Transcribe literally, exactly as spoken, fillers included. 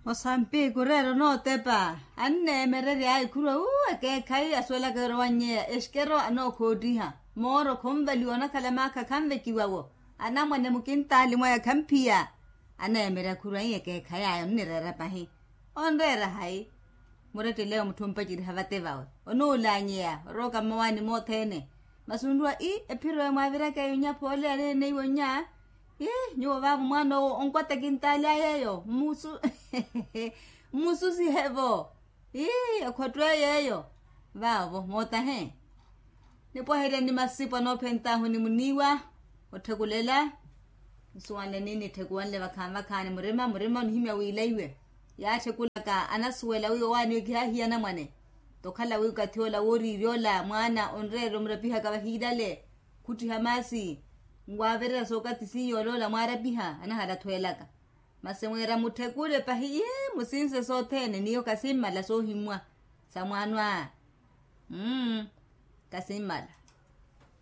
Osampiku oreera onootepa. Anneemererya ayi khurwa uu ekeekhayi asuwelaka yorowa nnyeya exikero anookhoottiha. Mooro khonvaliwa onakhala maakha khanvekiwa-wo. Anamwane mukintaali mwaya khamphiya. Aneemererya khurwa ii ekeekhayi aya onnireera pahi. Onreera hayi? Muretteleyo mutthu ompaceriha vate vawe onuulanyeya orooka mmawaani mothene. Masi onruwa ii ephiro eyo mwaaviraka eyo nnya phoole yaleene iwo nnya. Ii nyuwo vaavo mwaan'owo onkwata kintaali ayeeyo mmusu mmususihe-vo. Ii ekhotto eyo eyo vaavo mootahe. Nipwaherya ni masipo anoophent'ahu ni muniiwa otthekulela. Nsuwanle ni nitthekuwanle vakhaani vakhaani murima murima onihimya wiilaiwe. Yaattthekulaka anasuwela wi owaani owo kihaahiya anamwane. Tokhala wi okathi ola wooriirya ola mwaana onreerya omurapihaka vahiilale khuttiha maasi. Nwaavererya sookathi siiya oloola mwaarapiha anahala athweelaka. Masi mwiira mutthekule pahi ii musinse sothene niyo kasimmala soohimmwa sa mwaano aa. Mmm kasimmala.